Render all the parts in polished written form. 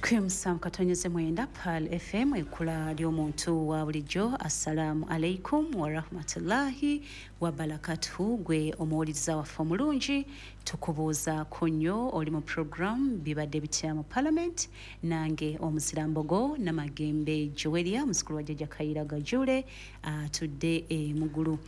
7.9 Pearl FM, ekkula ly'omuntu wa bulijjo. Assalaamu alaikum warahmatullahi wabarakatuhu. Gwe omuwuliriza waffe omulungi, tukubuuzaako nnyo. Oli mu program Bibadde Bitya mu Parliament, nange omuzirambogo Namagembe Joweria, muzukulu wa Jjajja Kayira Gajule atudde emugulu.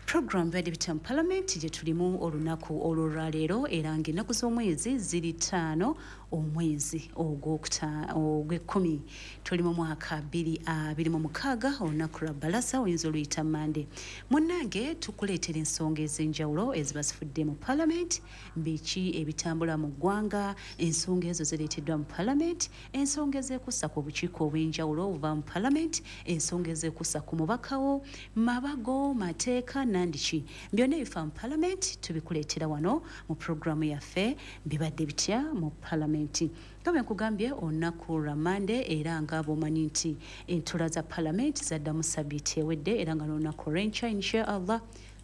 Program Bibadde Bitya mu Parliament gye tulimu olunaku olwolwaleero, era ng'ennaku z'omwezi ziri 5 omwezi ogw'ekkumi, tuli mu mwaka 2026, olunaku lwa Balasa, oyinza oluyita Mande. Munnange, tukuleetera ensonga ez'enjawulo eziba zifudde mu Parliament, biki ebitambula mu ggwanga, ensonga ezo zireeteddwa mu Parliament, ensonga ezeekuusa ku bukiiko obw'enjawulo obuva mu Parliament, ensonga ezeekuusa ku mubakawo, mabago, mateeka nandiki, byonna ebifa mu Parliament tubikuleetera wano mu puroguramu yaffe Bibadde Bitya mu Palamenti. Nga bwe nkugambye, olunaku lwa Mande, era nga bw'omanyi nti entula za Palamenti zaddamu sabiiti ewedde, era nga n'olunaku olw'enkya insha Allah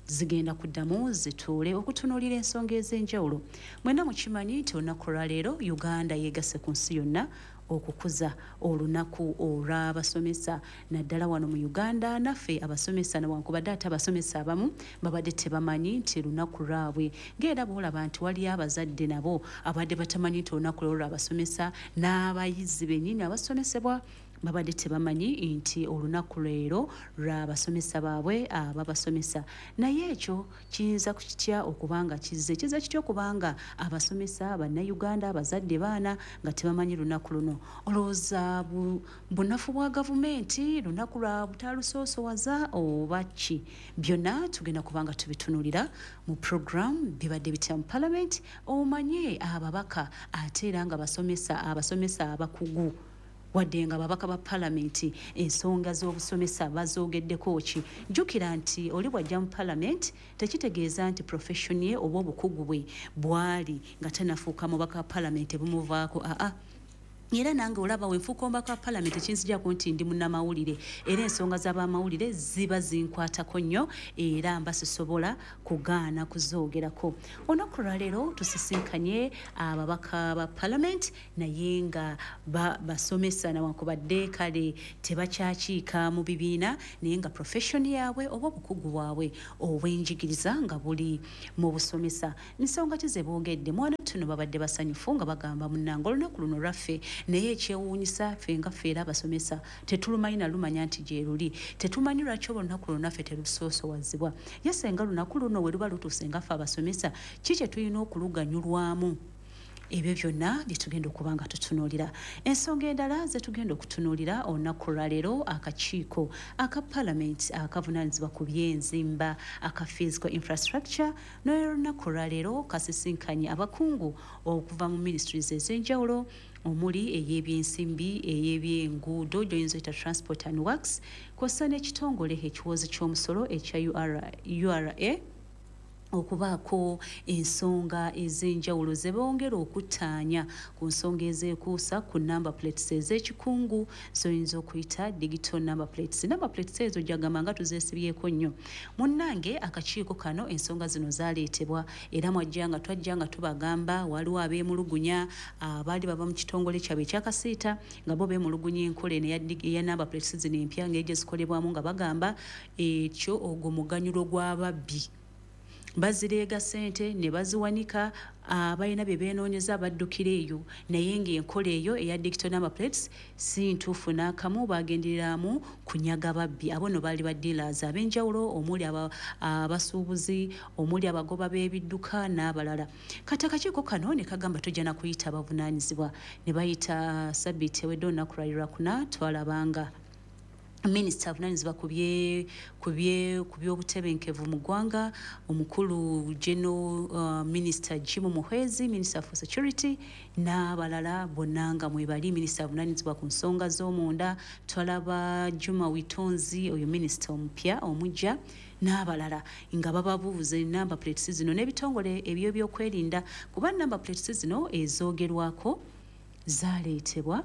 zigenda kuddamu zituule okutunuulira ensonga ez'enjawulo. Mwenna mukimanyi nti olunaku olwaleero Uganda yeegase ku nsi yonna okukuza olunaku olw'abasomesa, naddala wano mu Uganda naffe abasomesa, newankubadde ate abasomesa abamu babadde tebamanyi nti lunaku lwabwe, ngaera boolaba nti waliyo abazadde nabo abadde batamanyi nti olunaku lwo lwabasomesa, n'abayizi bennyini abasomesebwa babadde tebamanyi nti olunaku leero lw'abasomesa baabwe ababasomesa. Naye ekyo kiyinza kitya okubanga kizze kiza kitya okubanga abasomesa, Bannayuganda, abazadde, baana nga tebamanyi lunaku luno? Olowooza bunafu bwa gavumenti, lunaku lwa butalusoosowaza, oba ki? Byonna tugenda kubanga tubitunulira mu program Bibadde Bitya mu Parliament, omanye ababaka ate era nga basomesa, abasomesa abakugu, wadde nga ababaka ba Palamenti ensonga z'obusomesa bazoogeddeko ki. Jjukira nti oli bw'ajja mu Palamenti tekitegeeza nti profession ye oba obukugu bwe bwali nga tanafuuka mubaka wa Palamenti bumuvaako. Aa, era nange olaba wenfuuka omubaka wa Palamenti, ekinzijako nti ndi munnamawulire, era ensonga z'abamawulire ziba zinkwatako nnyo, era mba sisobola kugaana kuzoogerako. Olunaku lwaleero tusisinkanye ababaka ba Palamenti, naye nga basomesa, nawankubadde kale tebakyakiika mu bibiina, naye nga profession yaabwe oba obukugu bwabwe obw'enjigiriza nga buli mu busomesa. Nsonga ki ze boogedde? Mwana tuno babadde basanyufu nga bagamba, "Munnange, olunaku luno lwaffe, naye ekyewuunyisa ffe nga ffe era abasomesa tetulumanyi nalumanya nti gye luli. Tetumanyi lwaki oba olunaku luno naffe terusoosowazibwa. Ye senga lunaku luno we luba lutuuse nga ffe abasomesa, ki kye tulina okuluganyulwamu?" Ebyo byonna byetugenda okuba nga tutunuulira. Ensonga endala zetugenda okutunuulira olunaku lwaleero, akakiiko aka Palamenti akavunaanyizibwa ku byenzimba aka physical infrastructure n'olunaku lwaleero kasisinkanye abakungu okuva mu ministries ez'enjawulo, omuli ey'ebyensimbi, ey'ebyenguudo gyoyinza oyita transport and works, kw'ossa n'ekitongole ekiwozi ky'omusolo ekya URA, okubaako ensonga ez'enjawulo ze bongera okuttaanya ku nsonga ezeekuusa ku number plates ez'ekikungu zoyinza okuyita digital number plates. Number plates ezo jagamba nga tuzeesibyeko nnyo. Munnange, akakiiko kano ensonga zino zaleetebwa, era mwajja nga twajja nga tubagamba waliwo abeemulugunya abaali bava mu kitongole kyabwe ekyakasiita, nga bo beemulugunya enkola eno eya number plates zino empya ng'egye zikolebwamu, nga bagamba ekyo ogwo muganyulo gw'ababbi, bazireega ssente ne baziwanika, abalina bye beenoonyeza baddukira eyo, naye ng'enkola eyo eya digital number plates si ntuufu n'akamu, bagendereramu kunyaga babbi. Abo no baali ba dealers ab'enjawulo, omuli abasuubuzi, omuli abagoba b'ebidduka n'abalala. Kati akakiiko kano ne kagamba tujja na kuyita abavunaanyizibwa, ne bayita sabiiti ewedde olunaku lwali lwakuna. Twalabanga minisita avunaanyizibwa ku by'obutebenkevu mu ggwanga, omukulu geno Minisita Jim Muhwezi, Minister for Security, n'abalala bonna nga mwebali. Minisita avunaanyizibwa ku nsonga z'omunda, twalaba Juma Witonzi, oyo minisita omupya omujja, n'abalala nga bababuuza number plates zino n'ebitongole eby'ebyokwerinda, kuba number plates zino ezoogerwako zaleetebwa.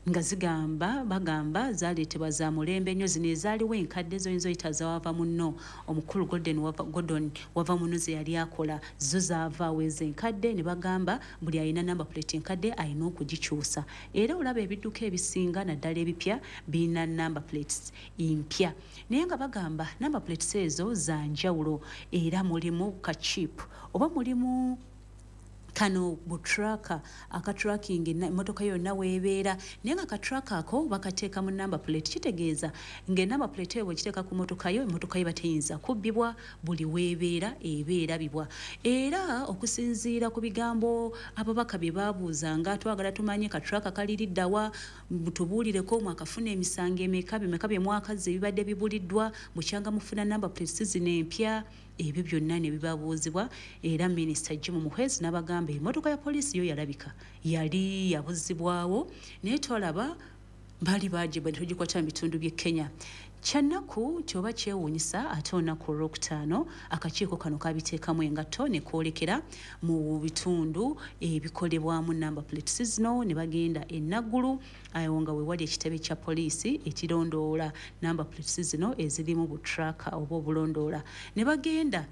Nga zigamba, bagamba zaleetebwa za mulembe nnyo. Zino ezaaliwo enkadde zoyinza oyita zawava munno, omukulu Golden wava, Gordon wava munno ze yali akola, zo zaavaawo ezo enkadde, ne bagamba buli alina number plate enkadde alina okugikyusa. Era olaba ebidduka ebisinga naddala ebipya birina number plates mpya, naye nga bagamba number plates ezo za njawulo, era mulimu ka chip oba mulimu kano bu tracker aka tracking emmotoka yonna weebeera. Naye nga ka tracker ako bakateeka mu number plate, kitegeeza ng'enumber plate eyo bwekiteeka ku mmotoka yo, emmotoka yo bateyinza kubbibwa, buli weebeera eba erabibwa. Era okusinziira ku bigambo ababaka bye baabuuzanga, twagala tumanye ka tracker kaliriddawa, tubuulireko mwakafuna emisango emeka, bimeka bye mwakazza ebibadde bibuliddwa bukyanga mufuna number plates zino empya. Ebyo byonna ne bibabuuzibwa, era Minisita Jim Muhwezi n'abagamba emmotoka ya poliisi yo yalabika yali yabuzibwawo, naye twalaba baali bagiba ne tugikwata mu bitundu by'e Kenya. Kyannaku nti oba kyewuunyisa, ate olunaku olwokutaano akakiiko kano kabiteekamu engatto ne kwolekera mu bitundu ebikolebwamu number plates zino, ne bagenda e Naggulu, awo nga we wali ekitebe kya poliisi ekirondoola number plates zino ezirimu bu tracker oba obulondoola, ne bagenda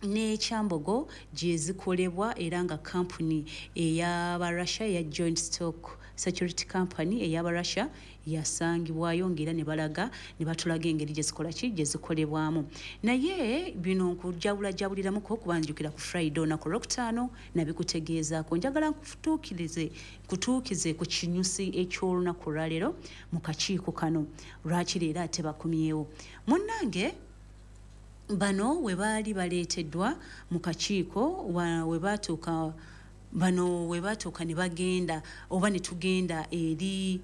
n'ekyambogo gye zikolebwa, era nga kampuni ey'Abarussia eya Joint Stock Security Company ey'Abarussia yasangibwayo, ng'era ne balaga ne batulaga engeri gye zikola ki, gye zikolebwamu. Naye bino nkujabulajabuliramuko kuba njukira ku Friday, olunaku olwokutaano, nabikutegeezaako. Njagala nkutuukirize, nkutuukize ku kinyusi eky'olunaku olwaleero mu kakiiko kano. Lwaki leero ate bakomyewo? Munnange, bano we baali baleeteddwa mu kakiiko, we baatuuka, bano we baatuuka ne bagenda oba ne tugenda eri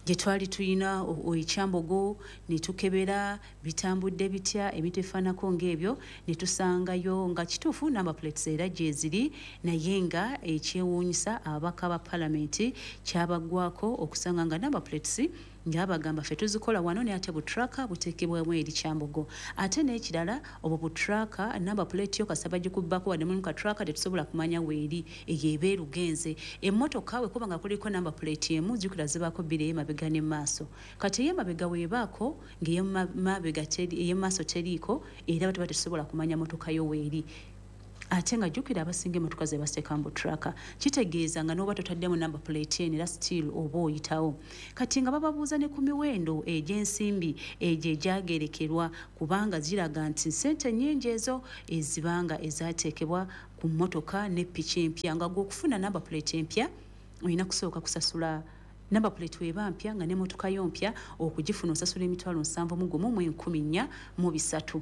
gye twali tuyina ekyambogo ne tukebera bitambudde bitya, ebintu ebifaananako ng'ebyo, ne tusangayo nga kituufu number plates era gyeziri. Naye nga ekyewuunyisa ababaka ba palamenti kyabaggwako okusanga nga number plates nga bagamba ffe tuzikola wano, naye ate bu tracker buteekebwamu eri Kyambogo. Ate n'ekirala, obwo bu tracker, number plate yo kasaba gikubbako wadde mulimu ka tracker, tetusobola kumanya weeri, eyo eba erugenze. Emmotoka wekuba nga kuliko number plate emu, jjukira zibaako bbiri, ey'emabega n'emaaso. Kati ey'emabega weebaako ng'ey'emabega ey'emaaso teriiko, era batuba tetusobola kumanya motoka yo weeri. Ate nga jjukira abasinga emmotoka ze bateeka mu tracker, kitegeeza nga n'oba totaddemu number plate eno, era still oba oyitawo. Kati nga bababuuza ne ku miwendo egy'ensimbi egyo egyagerekerwa, kubanga ziraga nti ssente nnyingi ezo ezibanga ezaateekebwa ku mmotoka ne piki empya, nga gwe okufuna number plate empya olina kusooka kusasula. Number plate weba mpya nga n'emmotoka yo mpya, okugifuna osasula 71,403.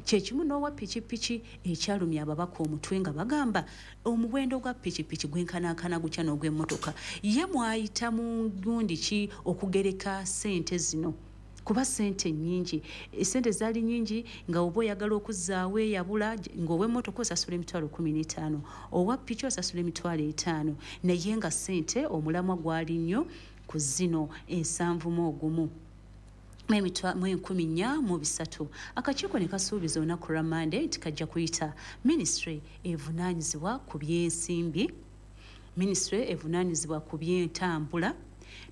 Kyekimu n'owa pikipiki. Ekyalumya ababaka omutwe nga bagamba omuwendo gwa pikipiki gwenkanankana gutya n'ogw'emmotoka? Ye mwayita mu gundi ki okugereka ssente zino? Kuba ssente nnyingi, essente zaali nnyingi, nga oba oyagala okuzzaawo eyabula, ng'ow'emmotoka osasula 15,000, owa piki osasula 50,000, naye nga ssente omulamwa gwali nnyo ku zino 71,403. Akakiiko ne kasuubiza olunaku lwa Mande nti kajja kuyita minisitule evunaanyizibwa ku byensimbi, minisitule evunaanyizibwa ku byentambula,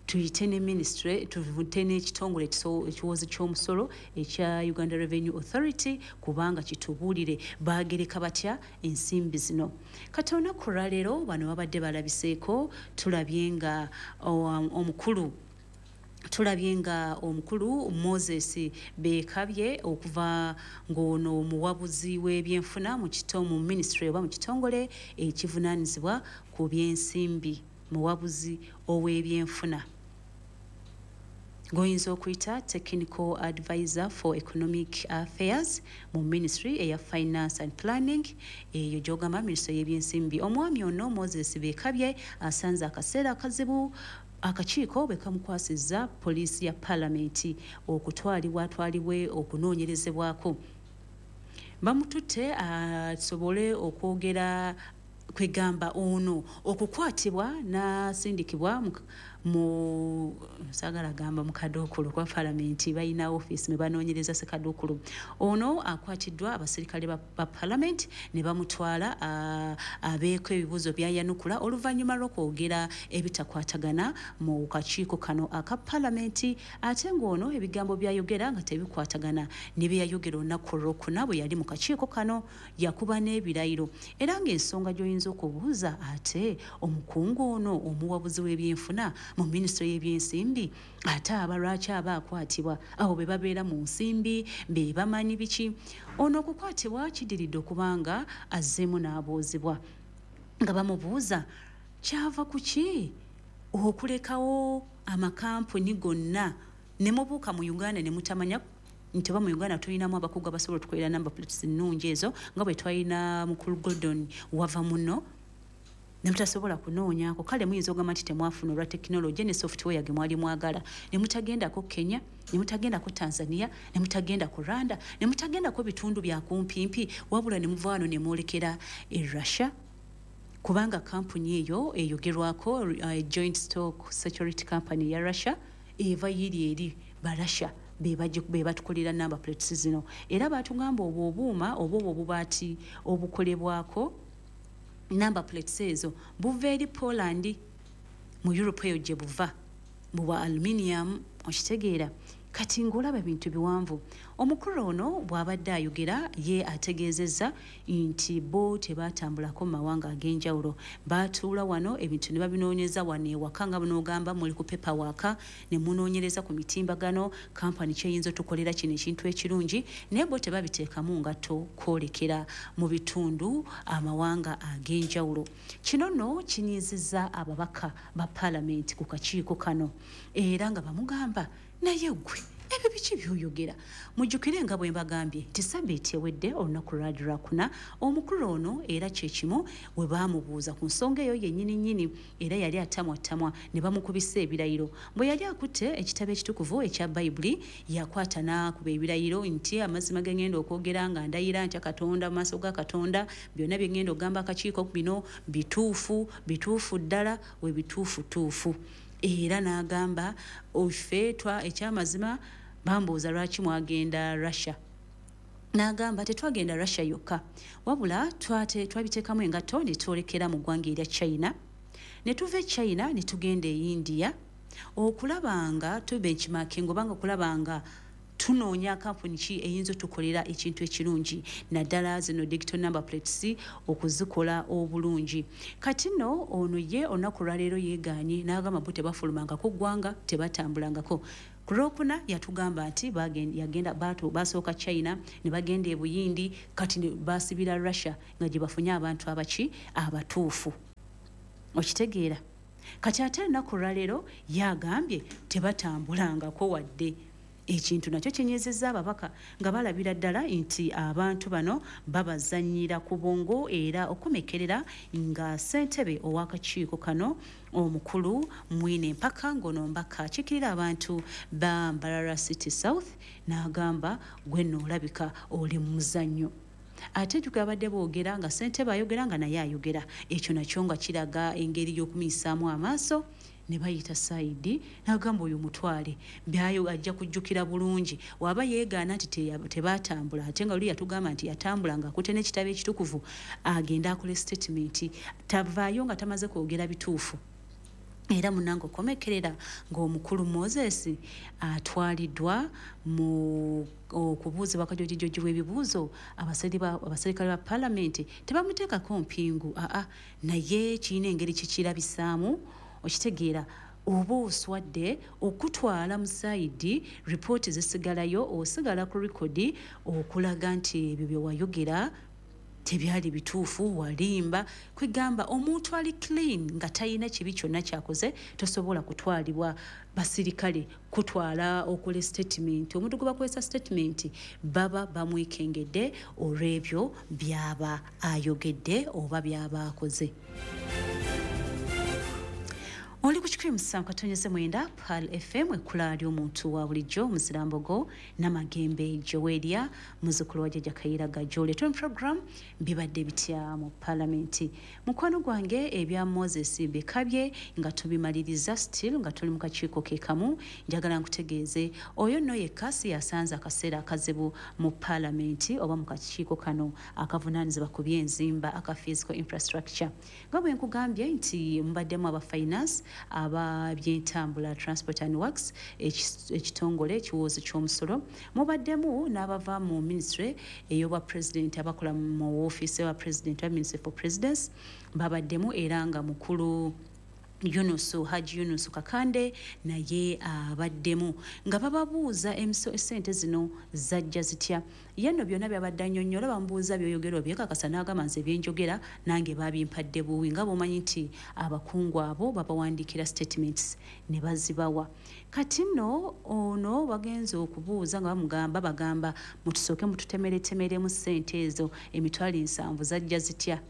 tuyite ne minisitule, tuvute n'ekitongole ekiwoozi ky'omusolo ekya Uganda Revenue Authority, kubanga kitubuulire baagereka batya ensimbi zino. Kati olunaku olwaleero bano babadde balabiseeko, tulabye nga omukulu Moses Bekabye, okuva ng'ono omuwabuzi w'ebyenfuna mu kito mu ministry oba mu kitongole ekivunaanyizibwa ku byensimbi, muwabuzi ow'ebyenfuna goyinza okuyita technical advisor for economic affairs mu ministry eya Finance and Planning, eyo gyogamba ministry y'ebyensimbi. Omwami ono Moses Bekabye asanze akaseera akazibu akakiiko bwe kamukwasizza poliisi ya palamenti okutwalibwa atwalibwe okunoonyerezebwako. Bamututte asobole okwogera, kwegamba ono okukwatibwa n'asindikibwa. Mu saagala gamba mu kaduukulu kuba palamenti balina ofiisi mwe banoonyereza sekaduukulu. Ono akwatiddwa abaserikale ba palamenti ne bamutwala abeeko ebibuuzo by'ayanukula oluvannyuma lw'okwogera ebitakwatagana mu kakiiko kano aka palamenti, ate ng'ono ebigambo by'ayogera nga tebikwatagana ne bye yayogera olunaku olwokuna bwe yali mu kakiiko kano. Yakuba n'ebirayiro, era ng'ensonga gy'oyinza okubuuza, ate omukungu ono omuwabuzi w'ebyenfuna mu minisitule y'ebyensimbi ate aba lwaki aba akwatibwa? Abo be babeera mu nsimbi be bamanyi biki. Ono okukwatibwa kidiridde okubanga azzeemu n'abuuzibwa nga bamubuuza kyava ku ki okulekawo amakampuni gonna ne mubuuka mu Uganda ne mutamanya nti oba mu Uganda tulinamu abakugu abasobola otukolera number plates ennungi ezo nga bwe twalina mukulu Gordon wava muno, ne mutasobola kunoonyaako. Kale muyinza okugamba nti temwafuna olwa tekinologi ne software ge mwali mwagala, ne mutagendako Kenya, ne mutagendako Tanzania, ne mutagenda ku Rwanda, ne mutagendako bitundu bya kumpimpi, wabula ne muva wano ne mwolekera e Russia, kubanga kampuni eyo eyogerwako Joint Stock Security Company ya Russia eva yiri eri Barasha be batukolera number plates zino. Era batugamba obwo obuuma oba obwo obubaati obukolebwako number plates ezo buva eri Poland, mu Europe eyo gye buva, bubwa aluminium. Okitegeera? Kati ng'olaba ebintu biwanvu. Omukulu ono bw'abadde ayogera ye ategeezezza nti bo tebaatambulako mu mawanga ag'enjawulo, baatuula wano ebintu ne babinoonyeza wano ewaka, nga bunoogamba muli ku paperwork ne munoonyereza ku mitimbagano kampani kyeyinza otukolera kino ekintu ekirungi, naye bo tebabiteekamu ngatto kwolekera mu bitundu amawanga ag'enjawulo. Kino nno kinyiizizza ababaka ba paalamenti ku kakiiko kano, era nga bamugamba naye ggwe ebyo biki by'oyogera? Mujjukire nga bwe mbagambye nti sabbiiti ewedde olunaku lwali lwakuna, omukulu ono era kye kimu we baamubuuza ku nsonga eyo yennyini nnyini, era yali atamwattamwa ne bamukubisa ebirayiro. Bwe yali akutte ekitabo ekitukuvu ekya Bayibuli, yakwata n'akuba ebirayiro nti amazima ge ngenda okwogera nga ndayira ntya Katonda mu maaso ga Katonda, byonna bye ngenda okugamba akakiiko bino bituufu, bituufu ddala, we bituufutuufu. Era n'agamba ffe ekyamazima bambuuza lwaki mwagenda Russia, n'agamba tetwagenda Russia yokka, wabula twabiteekamu engatto ne twolekera mu ggwanga erya China, ne tuva e China ne tugenda e India okulaba nga tubenchmarking oba nga okulaba nga tunoonya kampuni ki eyinza otukolera ekintu ekirungi, naddala zino digital number plates okuzikola obulungi. Kati nno ono ye olunaku olwaleero yeegaanye n'agamba bo tebafulumangako ggwanga, tebatambulangako. Ku lwokuna yatugamba nti basooka China ne bagenda e Buyindi, kati basibira Russia nga gye bafunye abantu abaki abatuufu. Okitegeera? Kati ate olunaku olwaleero yagambye tebatambulangako wadde. Ekintu nakyo kinyezezza ababaka nga balabira ddala nti abantu bano babazannyira ku bwongo, era okumekerera nga ssentebe ow'akakiiko kano omukulu Mwine Mpaka, ng'ono mbaka akiikirira abantu ba Mbarara City South, n'agamba gwe nno olabika oli mu muzannyo. Ate jjukira abadde boogera nga ssentebe ayogera nga naye ayogera, ekyo nakyo nga kiraga engeri y'okumuyisaamu amaaso. Ne bayita Saidi n'agamba oyo mutwale byayo ajja kujjukira bulungi, waba yeegaana nti tebatambula, ate nga luli yatugamba nti yatambula ng'akutte n'ekitabo ekitukuvu, agende akole statement, tavaayo nga tamaze kwogera bituufu. Era munnange okomekerera ng'omukulu Moses atwaliddwa mu okubuuzibwa kajojijoji w'ebibuuzo, abaserikale ba paalamenti tebamuteekako mpingu, aa naye kirina engeri kikirabisaamu. Okitegeera? Oba oswadde okutwala mu sayidi, ripooti zisigalayo, osigala ku rekodi okulaga nti ebyo bye wayogera tebyali bituufu, walimba. Kwegamba omuntu ali clean nga talina kibi kyonna kyakoze tosobola kutwalibwa basirikale kutwala okola statement. Omuntu gwe bakozesa statement baba bamwekengedde olw'ebyo by'aba ayogedde oba by'aba akoze. Oli ku 107.9 Pearl FM, ekkula ly'omuntu wa bulijjo, Muzirambogo Namagembe Joweria, muzzukulu wa Jjajja Kayiira Gajole. Tuli program Bibadde Bitya mu Palamenti. Mukwano gwange, ebya Moses Bikabye nga tubimaliriza, still nga tuli mu kakiiko ke kamu. Njagala nkutegeeze, oyo nno yekka si yasanze akaseera akazibu mu palamenti oba mu kakiiko kano akavunaanyizibwa ku byenzimba aka physical infrastructure. Nga bwe nkugambye nti mubaddemu aba finance, ababyentambula, transport and works, ekitongole ekiwoozi ky'omusolo, mubaddemu n'abava mu ministry ey'obwa president, abakola mu woofiisi wa president wa Ministry for Presidents babaddemu, era nga mukulu Yunusu, Haji Yunusu Kakande naye abaddemu, nga bababuuza esente zino zajja zitya. Ye nno byonna byabadde annyonnyola, bamubuuza byoyogera obyekakasa, n'agamba nze byenjogera nange babimpadde buwi, nga bw'omanyi nti abakungu abo babawandiikira statements ne bazibawa. Kati nno ono bagenze okubuuza nga bamugamba, bagamba mutusooke mututemeretemeremu ssente ezo 70,000 zajja zitya.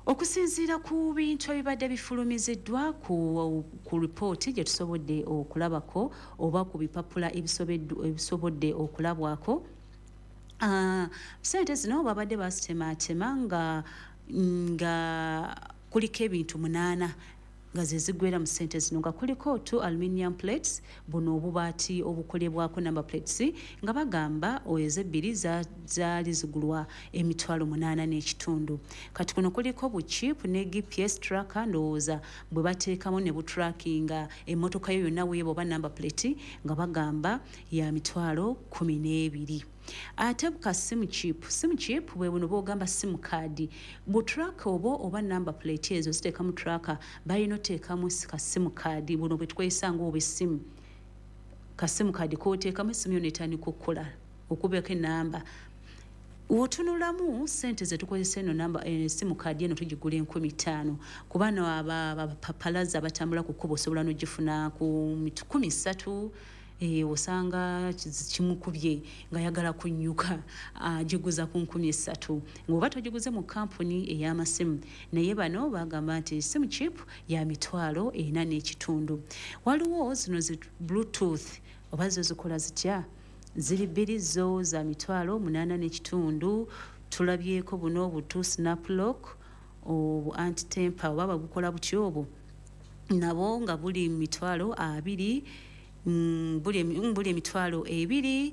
Okusinziira ku bintu ebibadde bifulumiziddwa ku ripooti gye tusobodde okulabako oba ku bipapula ebisobodde okulabwako, sente zino babadde bazitematema nga kuliko ebintu munaana nga ze ziggwera mu ssente zino, nga kuliko two aluminium plates, buno obubaati obukolebwako number plates, nga bagamba ezebbiri zaali zigulwa 8,500. Kati kuno kuliko buchip ne GPS tracker, ndowooza bwe bateekamu ne butrackinga emmotoka yo yonna weeba oba number plate, nga bagamba ya 12,000. Ate ka SIM chip, SIM chip bwe buno bwogamba SIM card, butracker obwo oba number plate ezo ziteekamu tracker, balina oteekamu ka SIM card, buno bwe tukozesa ng'obwessimu, ka SIM card k'oteekamu essimu yo n'etandika okukola okubeko enamba. Wotunulamu sente zetukozesa eno namba, SIM card eno tugigula 5,000, kuba no abapapalazi abatambula ku kkubo osobola n'ogifuna ku 30,000. Osanga kimukubye ng'ayagala kunnyuka agiguza ku 3,000 ng'oba togiguze mu kampuni ey'amasimu. Naye bano bagamba nti SIM chip ya 4,500. Waliwo zino zi bluetooth, oba zo zikola zitya, ziri bbiri, zo za 8,500. Tulabyeko buno obutu snaplock, obu anti-tamper oba babukola butyo obwo, nabo nga buli 20,000, buli 23,300.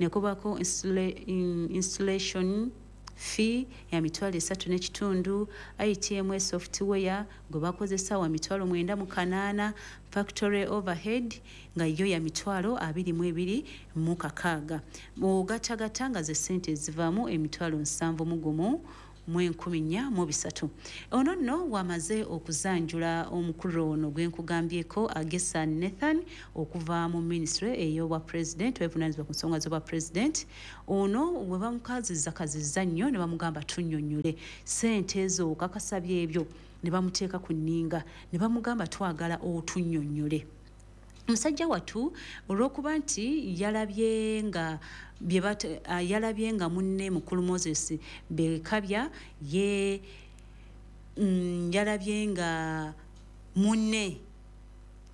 Nekubako installation fee ya 3,500, ITMS software gwe bakozesa wa 908,000, factory overhead nga yo ya 22,600. Ogatagatta nga ze ssente ezivaamu 71,403. Ono nno wamaze okuzanjula omukulu ono gwe nkugambyeko, Agesa Nathan, okuva mu ministry ey'obwa president, wevunaanyizibwa ku nsonga z'obwa president. Ono bwe bamukazizza kazizza nnyo ne bamugamba tunnyonnyole ssente ezo okakasa byebyo, ne bamuteeka ku nninga ne bamugamba twagala otunnyonnyole. Musajja wattu olw'okuba nti yalabye nga munne mukulu Moses Bekabya ye, yalabye nga munne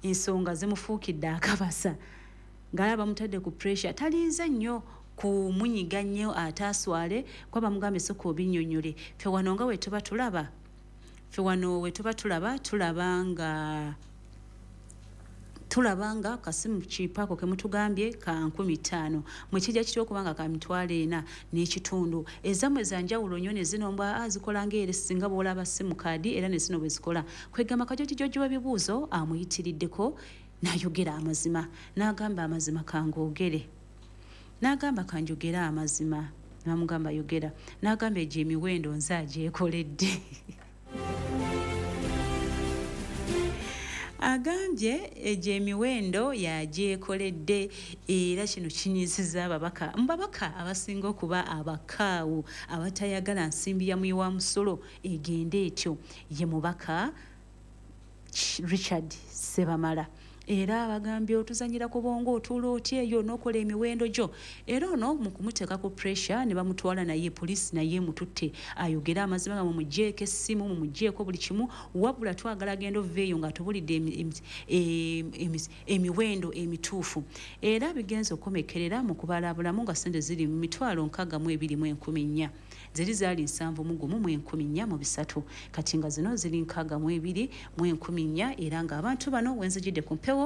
ensonga zimufuukidde akabasa, ng'alaba bamutadde ku pressure, talinze nnyo kumunyiga nnyo ate aswale, kuba bamugambye sooka obinnyonnyole. Ffe wano we tuba tulaba, tulaba nga kasimu kipaako ke mutugambye ka 5,000, mwekijja kitya okubanga ka 4,500? Ezammwe za njawulo nnyo ne zino mbwa zikola ng'ere singa bw'olaba SIM card era ne zino bwe zikola. Kwegamba kajojijoji w'ebibuuzo amuyitiriddeko n'ayogera amazima, n'agamba amazima kangoogere, n'agamba kanjogere amazima, n'amugamba yogera, n'agamba egyo emiwendo nze agyekoledde. Agambye egyo emiwendo yagyekoledde, era kino kinyiizizza ababaka. Mu babaka abasinga okuba abakaawu abatayagala nsimbi ya muwi wa musolo egende etyo ye mubaka Richard Sebamala. Era bagambye otuzanyira ku bwongo, otuula otya eyo n'okola emiwendo gyo? Era ono mu kumuteeka ku pressure ne bamutwala naye poliisi, naye emututte ayogere amazima nga mumugjeeko essimu, mumugjeeko buli kimu, wabula twagala agenda ova eyo ng'atubulidde emiwendo emituufu. Era bigenza okukomekerera mu kubalabulamu nga ssente ziri mu 62,400. Zeri zaali 71,403, kati nga zino ziri 62,400. Era ng'abantu bano wenzijidde ku mpewo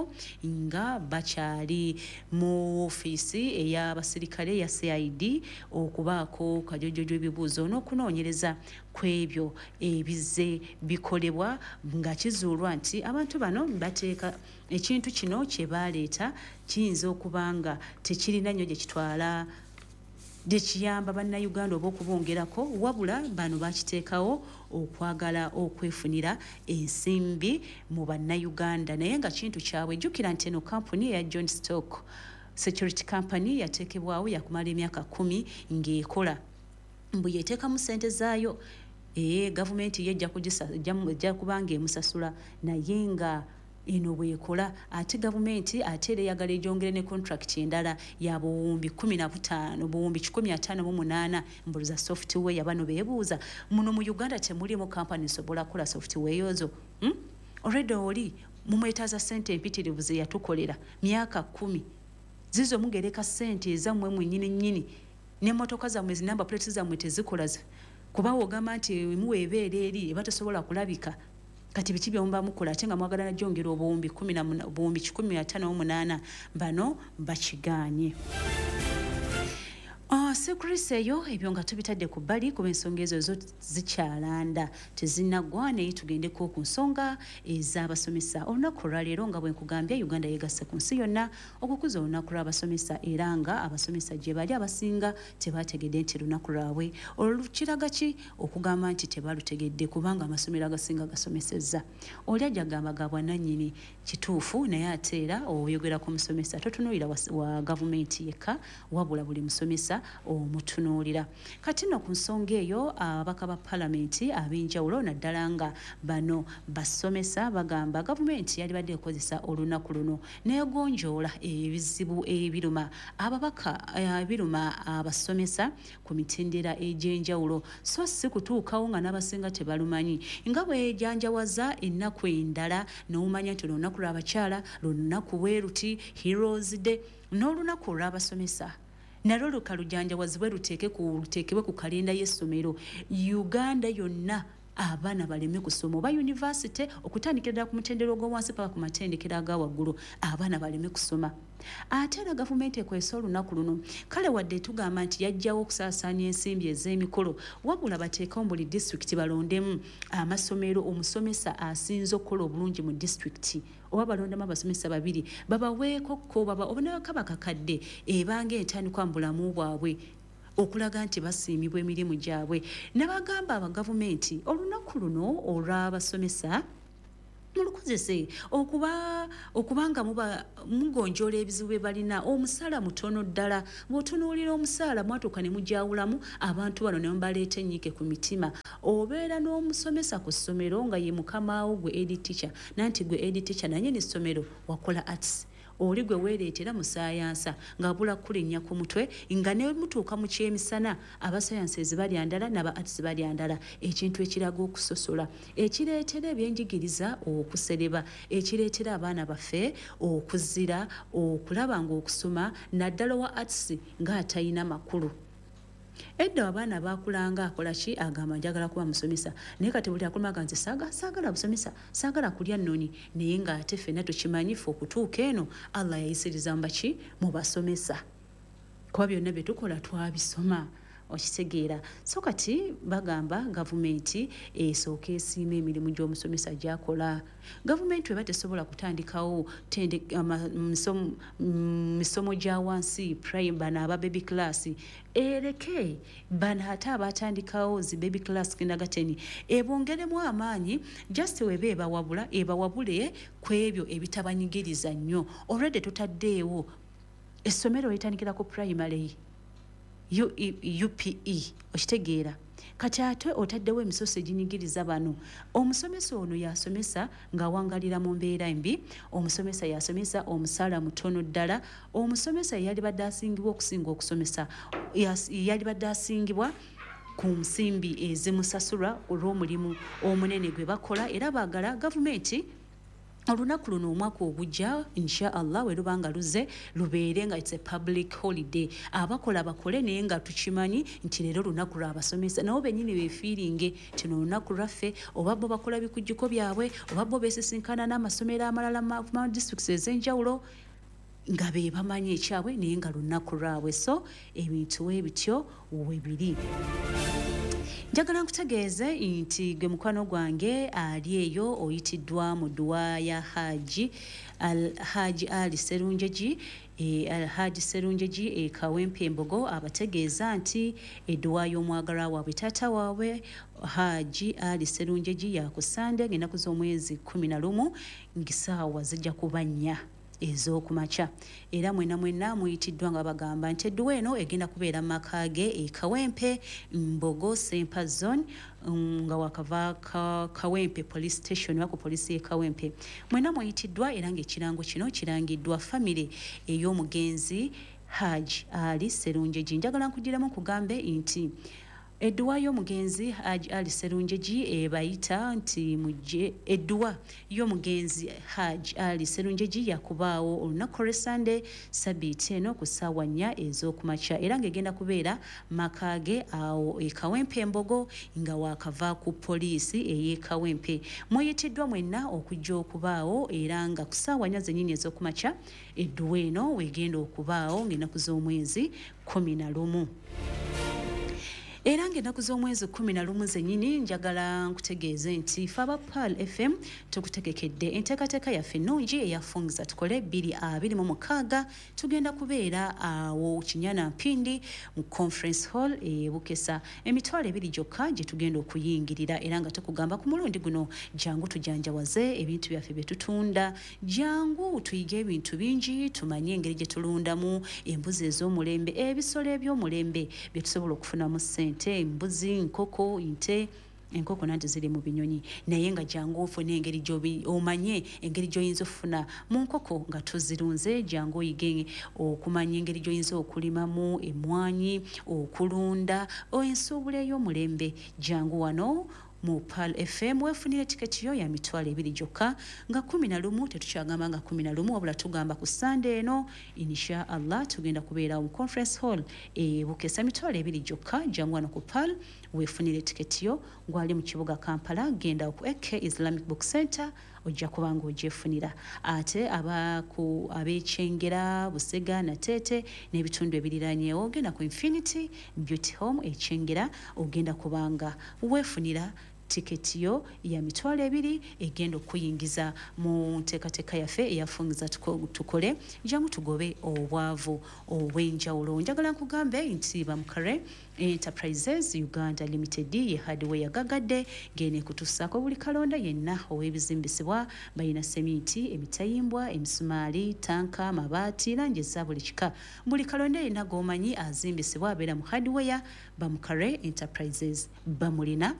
nga bakyali mu ofiisi ey'abasirikale eya CID okubaako kajojojo ebibuuzo n'okunoonyereza ku ebyo ebizze bikolebwa, nga kizuulwa nti abantu bano bateeka ekintu kino kye baleeta kiyinza okuba nga tekirina nnyo gye kitwala, gye kiyamba Bannayuganda oba okubongerako, wabula bano bakiteekawo okwagala okwefunira ensimbi mu Bannayuganda, naye nga kintu kyabwe. Jjukira nti eno kampuni eya John Stock Security Company yateekebwawo yakumala emyaka 10 ng'ekola, mbu yeteekamu ssente zaayo. Ee, gavumenti ye ejja kuba ng'emusasula, naye nga eno bwekola ate gavumenti ate era eyagala egyongere ne contract endala ya buwumbi 15, buwumbi 158, mbu za software. Bano beebuuza, muno mu Uganda temulimu kampani esobola kukola software ezo? Already oli mumwetaaza ssente empitirivu ze yatukolera myaka 10, zizo mugereka ssente ezammwe mwennyini nnyini, n'emmotoka zammwe zi number plates zammwe tezikola, kuba ogamba nti muwa ebeera eri eba tesobola kulabika. Kati biki byemuba mukola ate nga mwagala najongera obuwumbi 158? Bano bakigaanye. Security eyo, ebyo nga tubitadde ku bbali kuba ensonga ezo zo zikyalanda, tezinaggwa. Naye tugendeko ku nsonga ez'abasomesa. Olunaku olwaleero, nga bwe nkugambye, Uganda yegasse ku nsi yonna okukuza olunaku lw'abasomesa, era nga abasomesa gye bali abasinga tebategedde nti lunaku lwabwe. Olwo kiraga ki okugamba nti tebalutegedde? Kubanga amasomero agasinga gasomesezza. Oli ajja gamba ga bwannannyini, kituufu, naye ate era oyogera ku musomesa totunuulira wa gavumenti yekka, wabula buli musomesa omutunuulira. Kati nno ku nsonga eyo, ababaka ba palamenti ab'enjawulo, naddala nga bano basomesa, bagamba gavumenti yalibadde ekozesa olunaku luno negonjoola ebizibu ebiruma ababaka, ebiruma abasomesa ku mitendera egy'enjawulo, so si kutuukawo nga n'abasinga tebalumanyi, nga bwejanjawaza ennaku endala n'omanya nti olunaku lw'abakyala, lunaku bwe luti, Heroes Day, n'olunaku olw'abasomesa nalwo lukalujanjawazibwe, luteekebwe ku kalenda y'essomero Uganda yonna, abaana baleme kusoma oba yunivasite, okutandikira ddala ku mutendera ogw'owansi paka ku matendekero aga waggulu, abaana baleme kusoma. Ate era gavumenti ekozesa olunaku luno, kale wadde tugamba nti yajjawo okusaasaanya ensimbi ez'emikolo, wabula bateekewo buli disitulikiti balondemu amasomero omusomesa asinze okukola obulungi mu disitulikiti, oba balondemu abasomesa babiri babaweeko ko oba bakakadde ebanga entandikwa mu bulamu bwabwe okulaga nti basiimibwa emirimu gyabwe. Nabagamba abagavumenti, olunaku luno olw'abasomesa mulukozese okubanga muba mugonjoola ebizibu bye balina. Omusaala mutono ddala. Bw'otunuulira omusaala, mwatuuka ne mujawulamu abantu bano ne mubaleeta ennyiike ku mitima. Obeera n'omusomesa ku ssomero nga ye mukamaawo gwe head teacher, nanti gwe head teacher nanyini ssomero wakola arts, oli gwe weereetera mu saayansa ng'abula kulinnya ku mutwe, nga ne mutuuka mu kyemisana abasayansi balya ndala n'aba arts balya ndala, ekintu ekiraga okusosola, ekireetera ebyenjigiriza okusereba, ekireetera abaana baffe okuzira okulaba ng'okusoma, naddala wa arts, ng'atalina makulu. Edda abaana bakulanga akola ki, agamba njagala kuba musomesa, naye kati buli akulumaga nze saagala busomesa, saagala kulya nnoni. Naye ng'ate ffenna tukimanyi, ffe okutuuka eno Allah yayisiriza mubaki, mu basomesa, kuba byonna bye tukola twabisoma, okitegeera? So kati bagamba gavumenti esooka esiima emirimu gy'omusomesa gy'akola. Gavumenti weba tesobola kutandikawo misomo gya wansi, prime, bano aba baby class ereke bano, ate abatandikawo zi baby class, kindergarten, ebongeremu amaanyi. Just weba ebawabula, ebawabule ku ebyo ebitabanyigiriza nnyo. Already tutaddeewo essomero litandikira ku primary. UPE, okitegeera? Kati ate otaddewo emisoso eginyigiriza bano. Omusomesa ono yasomesa ng'awangalira mu mbeera embi, omusomesa yasomesa omusaala mutono ddala, omusomesa yalibadde asingibwa okusinga okusomesa, yalibadde asingibwa ku nsimbi ezimusasulwa olw'omulimu omunene gwe bakola. Era baagala gavumenti olunaku luno omwaka ogujja, insha Allah, we luba nga luze, lubeere nga it's a public holiday. Abakola bakole, naye nga tukimanyi nti leero lunaku lwabasomesa, nabo bennyini beefiiringe nti no olunaku lwaffe. Oba bo bakola bikujjuko byabwe, oba bo beesisinkana n'amasomero amalala mu districts ez'enjawulo nga be bamanyi ekyabwe, naye nga lunaku lwabwe. So ebintu we bityo we biri. Njagala nkutegeeze nti gwe mukwano gwange ali eyo oyitiddwa mu dduwa ya Haji Ali Serunjeji, Alhaji Serunjeji e Kawempe Embogo. Abategeeza nti edduwa y'omwagalwa waabwe, taata waabwe Haji Ali Serunjeji, yaku Sande ng'ennaku z'omwezi 11 ng'essaawa zijja kuba 4 ez'okumakya. Era mwena mwena muyitiddwa nga bagamba nti edduwa eno egenda kubeera mu maka ge e Kawempe Mbogo, Sempa Zone, nga wakava Kawempe Police Station oba ku poliisi y'e Kawempe. Mwena muyitiddwa, era ng'ekirango kino kirangiddwa famire ey'omugenzi Haji Ali Serunjeji. Njagala nkugiremu nkugambe nti edduwa y'omugenzi Haji Ali Serunjeji ebayita nti mujje. Edduwa y'omugenzi Haji Ali Serunjeji yakubaawo olunaku olw'Esande sabiiti eno ku ssaawa 4 ez'okumakya, era ng'egenda kubeera maka ge awo e Kawempe Embogo nga wakava ku poliisi ey'e Kawempe. Muyitiddwa mwenna okujja okubaawo, era nga ku ssaawa 4 zennyini ez'okumakya edduwa eno wegenda okubaawo ng'ennaku z'omwezi 11. Era ng'ennaku z'omwezi 11 zennyini, njagala nkutegeeze nti fe aba Pearl FM tukutegekedde enteekateeka yaffe ennungi eyafungiza tukole 2026. Tugenda kubeera awo Kinyana Mpindi mu Conference Hall e Bukesa. 20,000 gyokka gye tugenda okuyingirira, era nga tukugamba ku mulundi guno jangu tujanjawaze ebintu byaffe bye tutunda, jangu tuyige ebintu bingi, tumanye engeri gye tulundamu embuzi ez'omulembe, ebisolo eby'omulembe bye tusobola okufunamu ssente, embuzi, nkoko, nte. Enkoko nanti ziri mu binyonyi, naye nga jangu ofune engeri omanye engeri gy'oyinza okufuna mu nkoko nga tuzirunze. Jangu oyige okumanya engeri gy'oyinza okulimamu emmwanyi, okulunda ensuubula ey'omulembe. Jangu wano mu Pearl FM weefunire tiketi yo ya 20,000 gyokka nga 11. Tetukyagamba nga 11, wabula tugamba ku Sande eno, insha Allah, tugenda kubeera mu Conference Hall e Bukesa, 20,000 gyokka. Jangu wano ku Pearl weefunire tiketi yo. Gwali mu kibuga Kampala, genda ku AK Islamic Book Center, ojja kuba nga ogyefunira. Ate abaku ab'ekyengera, Busega, Nateete n'ebitundu ebiriranyeewo, genda ku Infinity Beauty Home ekyengera, ogenda kubanga weefunira tiketi yo ya 20,000 egenda okuyingiza mu nteekateeka yaffe eyafungiza tukole. Jangu tugobe obwavu obw'enjawulo. Njagala nkugambe nti Bamukare Enterprises Uganda Limited ye hardware gagadde ngene kutusaako buli kalonda yenna ow'ebizimbisibwa. Balina seminti, emitayimbwa, emisumaali, tanka, mabaati, langi eza buli kika. Buli kalonda yenna g'omanyi azimbisibwa abeera mu hardware, Bamukare Enterprises bamulina.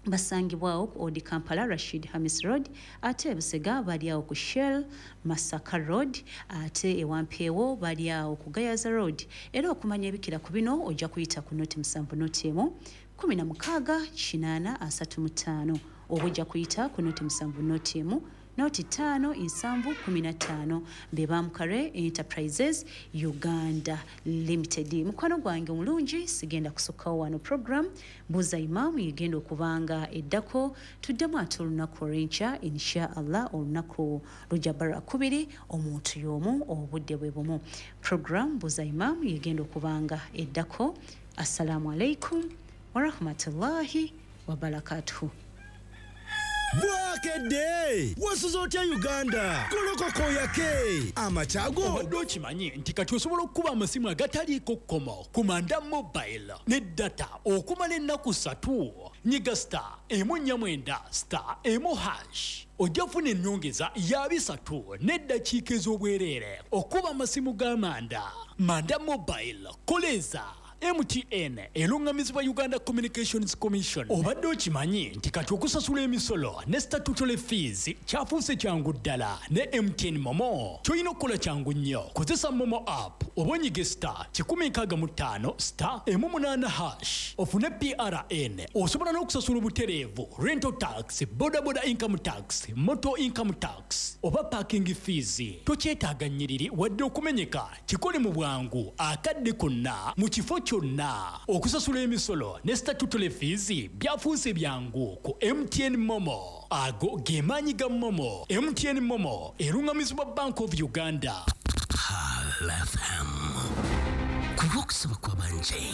Basangibwawo ku Old Kampala, Rashid Hamis Road. Ate Busega bali awo ku Shell, Masaka Road. Ate ewampeewo bali awo ku Gayaza Road. Era okumanya ebikira ku bino ojja kuyita ku 07 01 16 80 35, oba ojja kuyita ku 07 01 05 7 15. Be Bamukare Enterprises Uganda Limited. Mukwano gwange omulungi, sigenda kusukkawo wano. Program Buuza Imaamu yegenda okubanga eddako. Tuddemu ate olunaku olw'enkya, insha Allah, olunaku lujja bara 2, omuntu y'omu, obudde bwe bumu. Program Buuza Imaamu yegenda okubanga eddako. Assalamu alaikum warahmatullahi wabarakatuhu. Bwakedde, wasuze otya Uganda? Golokoka oyake amakyago. Obadde okimanyi nti kati osobola okukuba amasimu agataliiko kkomo ku Manda Mobile ne data okumala ennaku 3? Nyiga *149*1# ojja kufuna ennyongeza ya 300 n'eddakiika ez'obwereere okuba amasimu ga Manda. Manda Mobile, koleeza. MTN eruŋŋamizibwa Uganda Communications Commission. Obadde okimanyi nti kati okusasula emisolo ne statutory fees kyafuuse kyangu ddala ne MTN MoMo? Ky'olina okukola kyangu nnyo. Kozesa MoMo app oba onyige *165 *18# ofune PRN. Osobola n'okusasula obutereevu rental tax, bodaboda income tax, motor income tax oba parking fees. Tokyetaaga nnyiriri wadde okumenyeka. Kikole mu bwangu akadde konna mu kifo kyonna. Okusasula emisolo ne statutory fees byafuuse byangu ku MTN MoMo. Ago ge maanyi ga MoMo. MTN MoMo eruŋŋamizibwa Bank of Uganda. Pearl FM. Ku lw'okusaba kw'abanje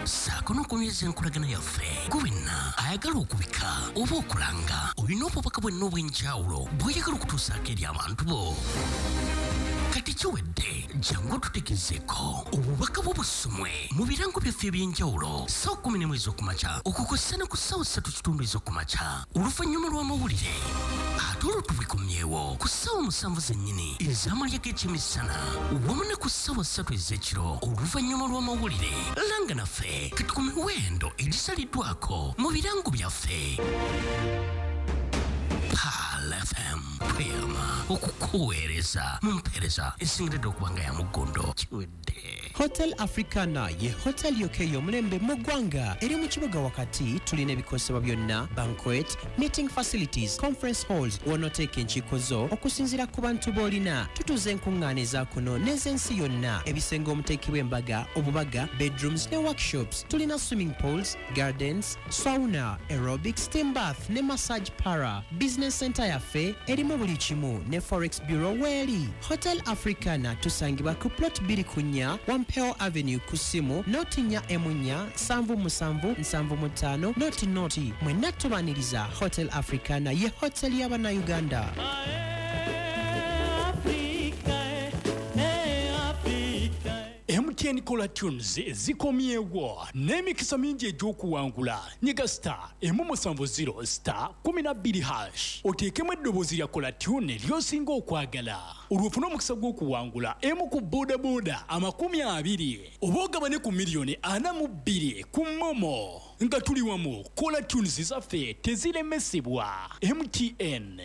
ssaako n'okunyweza enkolagana yaffe, gwe wenna ayagala okubika oba okulanga, olina obubaka bwenna obw'enjawulo bw'oyagala okutuusaako eri abantu bo, kati kiwedde. Jangu otutegezeeko obubaka bwo busomwe mu birango byaffe eby'enjawulo ssaawa 11 ez'okumakya okukosa ne ku ssaawa 3:15 ez'okumakya oluvannyuma lw'amawulire, ate olwo tubikomyewo ku ssaawa 7 zennyini ez'amalya g'ekyemisana wamu ne ku ssaawa 3 ez'ekiro oluvannyuma lw'amawulire. Langa naffe kati ku miwendo egisaliddwako mu birango byaffe. Pearl FM, tweyama okukuweereza mu mpeereza esingiridde okuba nga ya muggondo. Kiwedde. Hotel Africana ye hotel yokka ey'omulembe mu ggwanga. Eri mu kibuga wakati. Tulina ebikozesebwa byonna, banquet, meeting facilities, conference halls, w'onooteeka enkiiko zo okusinziira ku bantu b'olina. Tutuuza enkuŋŋaana eza kuno n'ez'ensi yonna, ebisenge omuteekebwa embaga, obubaga, bedrooms ne workshops. Tulina swimming pools, gardens, sauna, aerobic, steam bath ne massage parlour. Business center yaffe erimu buli kimu ne forex bureau weeri. Hotel Africana tusangibwa ku plot 24 Wampeo Avenue, ku ssimu 04 4 77 75 00. Mwenna tubaniriza. Hotel Africana ye hotel y'Abannayuganda. MTN Caller Tunes zikomyewo n'emikisa mingi egy'okuwangula. Nyiga *170 *12# oteekemu eddoboozi lya caller tune ly'osinga okwagala, olwo ofune omukisa gw'okuwangula emu ku bodaboda 20 oba ogabane ku miliyoni 42 ku MoMo. Nga tuli wamu, caller tunes zaffe teziremesebwa. MTN.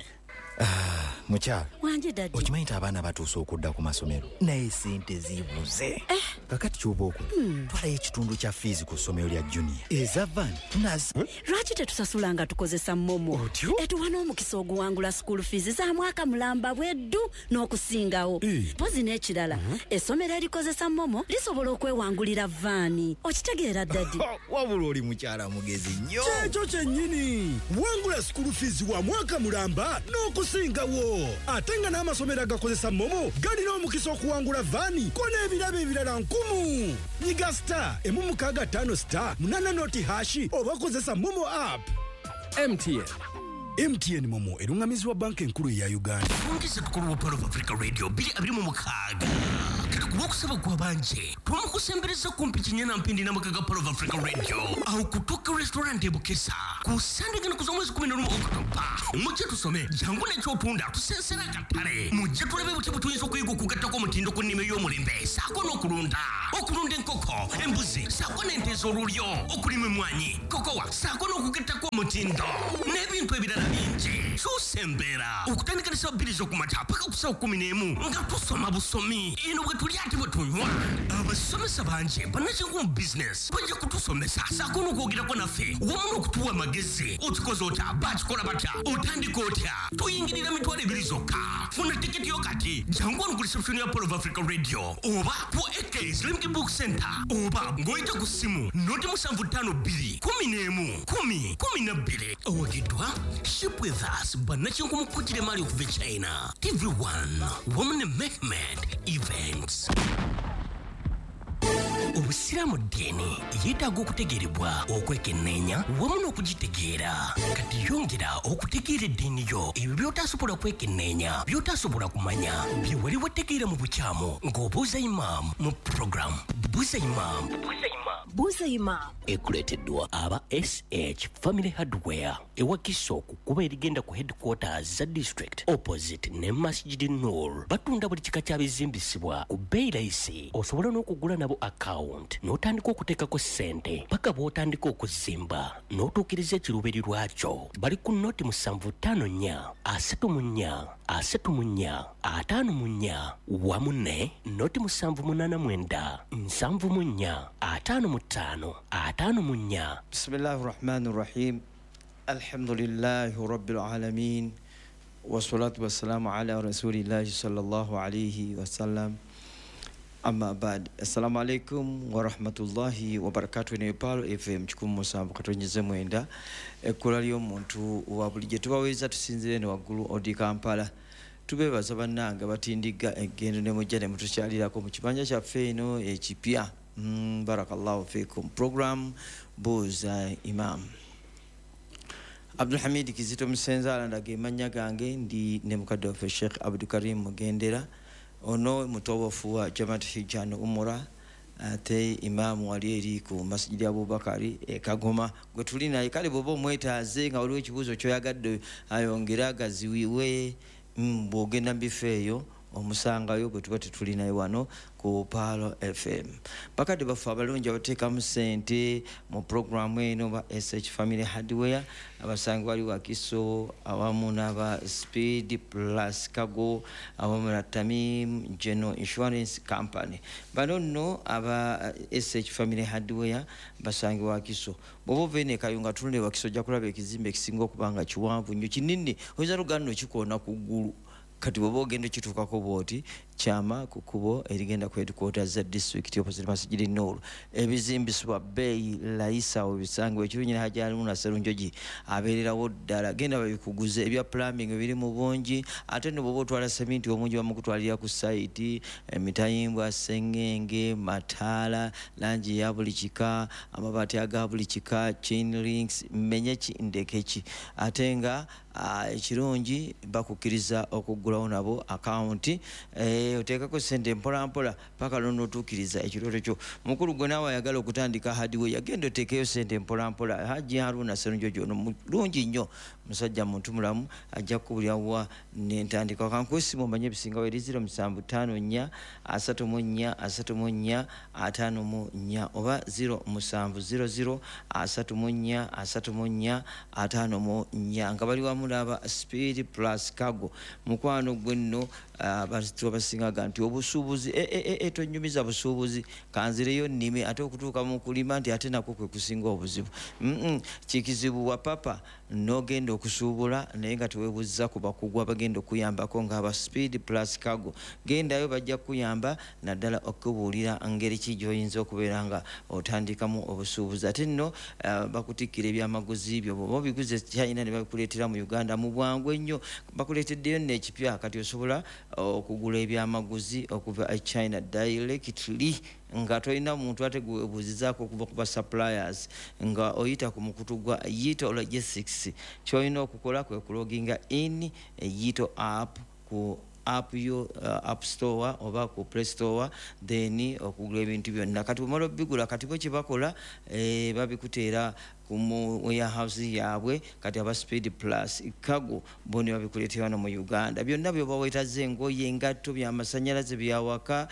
Mukyala. Wanje, daddy. Okimanyi nti abaana batuuse okudda ku masomero, naye sente zibuze? Kakati kyoba okola, twalayo ekitundu kya fees ku ssomero lya junior, eza van nazi. Lwaki tetusasula nga tukozesa MoMo? Otyo? Etuwa n'omukisa oguwangula school fees za mwaka mulamba bweddu n'okusingawo. Mpozi n'ekirala, essomero erikozesa MoMo lisobola okwewangulira van. Okitegeera, daddy? Wabula oli mukyala mugezi nnyo. Kyekyo kyennyini. Wangula school fees wa mwaka mulamba n'okusingawo, ate nga n'amasomero agakozesa MoMo galina omukisa okuwangula van ko n'ebirabo ebirala nkumu. Nyiga *165 *80# oba kozesa MoMo app. MTN. MTN MoMo eruŋŋamizibwa Banka Enkulu eya Uganda. Twongeze tukulu wa Pearl of Africa Radio 2026. Kati ku lwokusaba gw'abanje twamukusembereza kumpi kinyana mpindi n'amaka ga Pearl of Africa Radio awo kutuuka restaurant e Bukesa ku Sande gano ku z'omwezi 11 Okutoba. Mujje tusome, jangu n'ekyotunda, tusensera akatale. Mujje tulabe butya bwe tuyinza okuyiga okugattako omutindo ku nnima ey'omulembe saako n'okulunda, okulunda enkoko, embuzi saako n'ente ez'olulyo, okulima emmwanyi, kokowa saako n'okugattako omutindo n'ebintu ebirala bingi. Kyusa embeera okutandika ne ssaawa 2 z'okumakya paka ku ssaawa 11 nga tusoma busomi. Eno bwe tulya ate bwe tunywa. Abasomesa bangi bannakinku mu bizinesi bajja kutusomesa saako n'okwogerako naffe wamu n'okutuwa amagezi. Okikoze otya? Bakikola batya? Otandika otya? Tuyingirira 20,000 zokka. Funa tiketi yo kati. Jangu wano ku reception ya Pearl of Africa Radio oba ku AK Islamic Book Center oba ng'oyita ku ssimu 075 2 11 10 12. Owagiddwa Ship With Us, bannakinku mu kkugira emaali okuva e China, TV1 wamu ne Mehmed Events. Obusiraamu ddiini yeetaaga okutegeerebwa, okwekenneenya wamu n'okugitegeera. Kati yongera okutegeera eddiini yo. Ebyo by'otaasobola kwekenneenya, by'otaasobola kumanya, bye wali wategeera mu bukyamu, ng'obuuza imaamu mu program Buuza Imaamu. Buuza Imam. Ekuleeteddwa aba SH Family Hardware ewakiso ku kkubo erigenda ku headquarters za district opposite ne Masjid Nur. Batunda buli kika kya bizimbisibwa ku bbeeyi layisi. Osobola n'okugula nabo account n'otandika okuteekako ssente paka bw'otandika okuzimba n'otuukiriza ekiruubirirwa kyo. Bali ku noti 754 34 34 54 wamu ne noti 789 74 55 54. Bismillahi rahmani rahim. Alhamdulillahi rabbil alamin wassalatu wassalamu ala rasulillahi sallallahu alayhi wasallam. Amma ba'd. Assalamu alaikum warahmatullahi wabarakatuh. Ne Palo FM 107.9 ekkula ly'omuntu wa bulijjo tubaweza tusinzire ne waggulu odi Kampala. Tubebaza bannange batindigga eggendo ne mujja ne mutukyalirako mu kibanja kyaffe eno ekipya. Barakallahu fikum. Program Buuza Imam. Abdulhamid Kizito Musenza ndaga emanya gange ndi ne mukadde waffe Sheikh Abdulkarim Mugendera, ono mutobofu wa Jamaat Hijjan Umura ate imamu wali eri ku Masjid Abubakari e Kagoma gwe tuli naye. Kale bw'oba omwetaaze nga waliwo ekibuuzo ky'oyagadde ayongere agaziwiwe, bw'ogenda mu bifo eyo omusangayo bwe tuba tetuli naye wano ku Palo FM. Bakadde baffe abalungi abateekamu ssente mu puroguramu eno ba SH Family Hardware abasangi wali Wakiso awamu n'aba Speed Plus Cargo awamu na Tamim General Insurance Company. Bano nno aba SH Family Hardware basangi Wakiso. Bw'oba ova eno e Kayunga tunula e Wakiso ojja kulaba ekizimbe ekisinga okuba nga kiwanvu nnyo kinene, oyinza n'okugamba nno kikoona ku ggulu. Kati bw'oba ogenda okituukako bw'oti kyama ku kkubo erigenda ku headquarters za district opposite Masjid Nur. Ebizimbisibwa bbeeyi layisi awo bisangibwa. Ekirungi ne Hajji Haruna Sserunjogi abeererawo ddala. Genda babikuguze, ebya plumbing biri mu bungi, ate nno bw'oba otwala seminti omungi bamukutwalira ku sayiti, emitayimbwa, sengenge, mataala, langi ya buli kika, amabaati aga buli kika, chain links, mmenye ki ndeke ki. Ate nga ekirungi bakukkiriza okuggulawo nabo akawunti, oteekako ssente mpola mpola paka lw'onootuukiriza ekirooto kyo. Mukulu gwe naawe ayagala okutandika hardware, yagenda oteekeyo ssente mpola mpola. Hajji Haruna Sserunjogi ono mulungi nnyo, musajja muntu mulamu, ajja kukubulira wa n'entandikwa. Kankwesiima omanye ebisingawo eri 0754 34 34 54 oba 0700 34 34 54 nga bali wamu n'aba Speed Plus Cargo. Mukwano gwe nno abantu abasingaga nti obusuubuzi tonyumiza busuubuzi, kanzireyo nnime, ate okutuuka mu kulima nti ate nakwo kwe kusinga obuzibu. Kikizibu wa papa n'ogenda okusuubula naye nga teweebuuza ku bakugu abagenda okuyambako ng'aba Speed Plus Cargo. Gendayo bajja kukuyamba naddala okubuulira ngeri ki gy'oyinza okubeera nga otandikamu obusuubuzi. Ate nno bakutikkira ebyamaguzi byo, bw'oba obiguze China ne babikuleetera mu Uganda mu bwangu ennyo. Bakuleeteddeyo nno ekipya, kati osobola okugula ebyamaguzi okuva e China directly nga tolina muntu ate gwebuuzizaako okuva ku ba suppliers, nga oyita ku mukutu gwa Yito Logistics. Ky'olina okukola kwe kuloginga in Yito app ku app yo app store oba ku Play Store, then okugula ebintu byonna. Kati bw'omala obigula, kati bo kye bakola babikuteera mu warehouse yaabwe. Kati aba Speed Plus Cargo bo ne babikuleetera wano mu Uganda. Byonna by'oba weetaaze, engoye, engatto, byamasannyalaze, byawaka,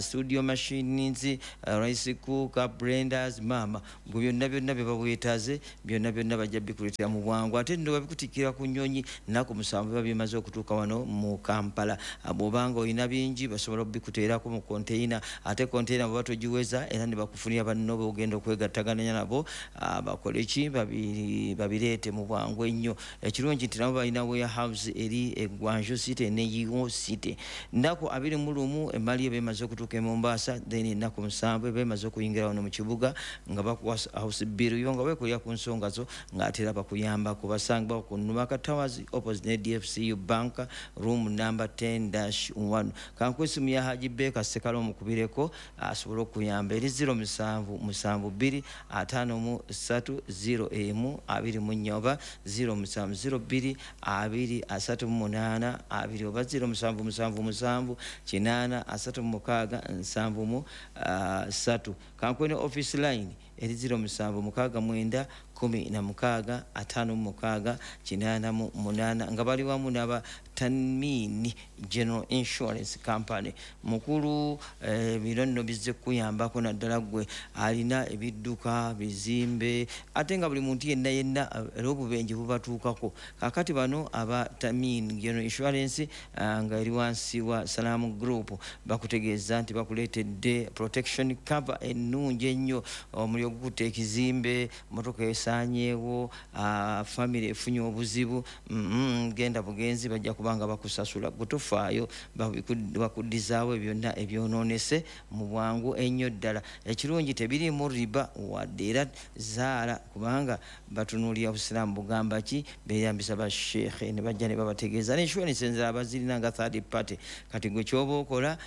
studio machines, rice cooker, blenders, maama gwe byonna byonna bye baweetaaze byonna byonna bajja bikuleetera mu bwangu. Ate nno babikutikkira ku nnyonyi nnaku 7 biba bimaze okutuuka wano mu Kampala. Bw'obanga olina bingi basobola okubikuteerako mu container, ate container bw'oba togiweza era ne bakufunira banno b'ogenda okwegattaganya nabo bakole ki babireete mu bwangu ennyo. Ekirungi nti nabo balina warehouse eri e Guangzhou City ne Yiwu City. Nnaku 21 emmali eba emaze okutuuka e Mombasa, then ennaku 7 eba emaze okuyingira wano mu kibuga nga bakuwa house bill yo nga weekolera ku nsonga zo ng'ate era bakuyambako. Basangibwa ku Numaka Towers opposite ne DFCU Bank, room number 10-1. Kankwesimu ya Haji Beka Ssekalo omukubireko asobole okuyamba eri 0772 53 3 01 24 oba 07 02 2 38 2 oba 0777 8 36 73. Kankwene office line eri 0769 16 56 88 nga bali wamu n'aba Tanmini General Insurance Company. Mukulu bino nno bizze kuyambako naddala ggwe alina ebidduka, bizimbe, ate nga buli muntu yenna yenna era obubenje bubatuukako. Kaakati bano aba Tanmini General Insurance nga eri wansi wa Salaam Group bakutegeeza nti bakuleetedde protection cover ennungi ennyo, omuliro gukutte ekizimbe, motoka esaanyeewo, famire efunye obuzibu, genda bugenzi bajja kubanga bakusasula. Gutofaayo bakuddizaawo byonna ebyonoonese mu bwangu ennyo ddala. Ekirungi tebiriimu riba wadde era zaala, kubanga batunuulira Busiraamu bugamba ki, beeyambisa basheekhe ne bajja ne babategeeza. Ne insurance enzala bazirina nga third party. Kati gwe ky'oba okola,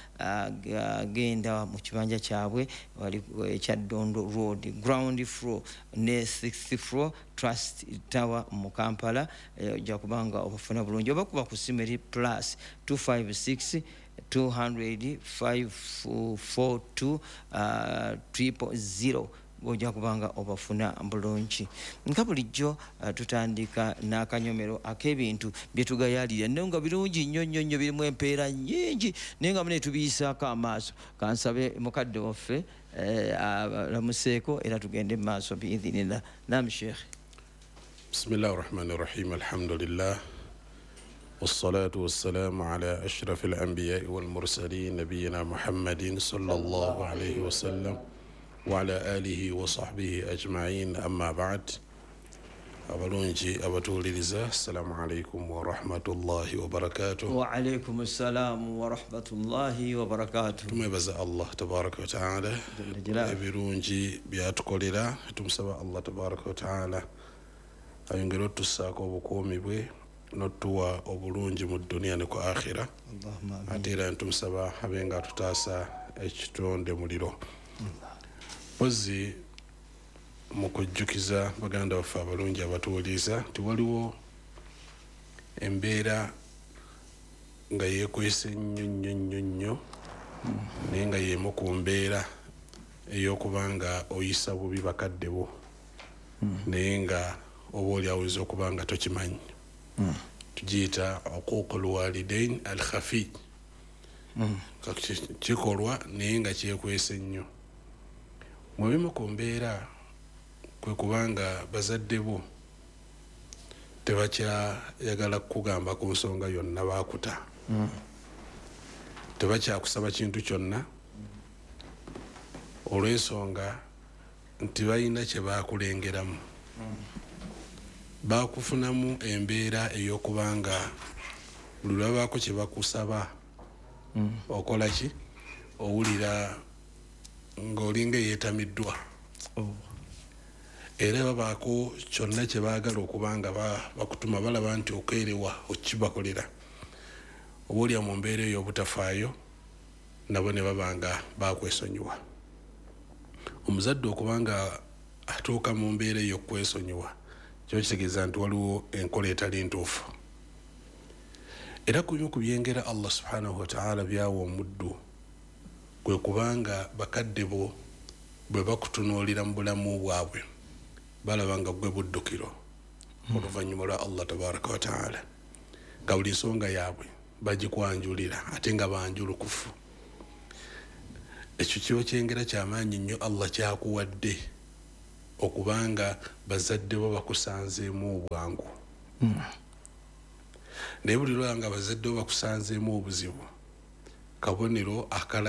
genda mu kibanja kyabwe wali ekya Dondo Road, ground floor ne 6th floor Trust Tower mu Kampala, ojja kubanga obafuna bulungi. Oba kuba ku ssimu eri plus 256 200 542 000 ojja kubanga obafuna bulungi. Nka bulijjo tutandika n'akanyomero ak'ebintu bye tugayaalira, naye nga birungi nnyo nnyo nnyo, birimu empeera nnyingi, naye nga mune tubiyisaako amaaso. Kansabe mukadde waffe alamuseeko era tugende mu maaso biidhinillah. Naam Sheikh. Bismillahi rahmani rahim, alhamdulillah wassalatu wassalamu ala ashrafil anbiyai wal mursalin nabiyina Muhammadin sallallahu alayhi wasallam wa ala alihi wa sahbihi ajma'in, amma ba'd. Abalungi abatuwuliriza, assalamu alaikum wa rahmatullahi wa barakatuh. Wa alaikum assalamu wa rahmatullahi wa barakatuh. Tumwebaza Allah tabaraka wa taala ebirungi byatukolera. Tumusaba Allah tabaraka wa taala ayongere otussaako obukuumi bwe n'otuwa obulungi mu duniya ne ku akhira. Ate era tumusaba abe nga atutaasa ekitonde muliro. Mpozi mu kujjukiza baganda baffe abalungi abatuwuliriza nti waliwo embeera nga yeekwese nnyo nnyo nnyo nnyo, naye nga y'emu ku mbeera ey'okuba nga oyisa bubi bakadde bo, naye nga oba oli aweza okuba nga tokimanyi. Tugiyita uquuqul walidain al khafi. Kikolwa naye nga kyekwese nnyo. Mu bimu ku mbeera kwe kubanga bazadde bo tebakyayagala kukugamba ku nsonga yonna baakuta, tebakyakusaba kintu kyonna olw'ensonga nti balina kye baakulengeramu. Baakufunamu embeera ey'okubanga buli lwabaako kye bakusaba okola ki, owulira ng'olinga eyeetamiddwa. Era babaako kyonna kye baagala okubanga bakutuma, balaba nti okeerewa okibakolera. Oba olya mu mbeera eyo obutafaayo nabo ne babanga bakwesonyiwa. Omuzadde okubanga atuuka mu mbeera eyo okwesonyiwa kyo kitegeeza nti waliwo enkola etali ntuufu. Era ku bimu ku byengera Allah subhanahu wa ta'ala byawa omuddu kwe kubanga bakadde bo bwe bakutunuulira mu bulamu bwabwe balaba nga gwe buddukiro oluvannyuma lwa Allah tabaraka wa ta'ala, nga buli nsonga yaabwe bagikwanjulira ate nga banjulukufu. Ekyo kiba kyengera kyamaanyi nnyo Allah kyakuwadde okubanga bazadde bo bakusanzeemu obwangu. Naye buli lwanga bazadde bo bakusanzeemu obuzibu, kabonero akala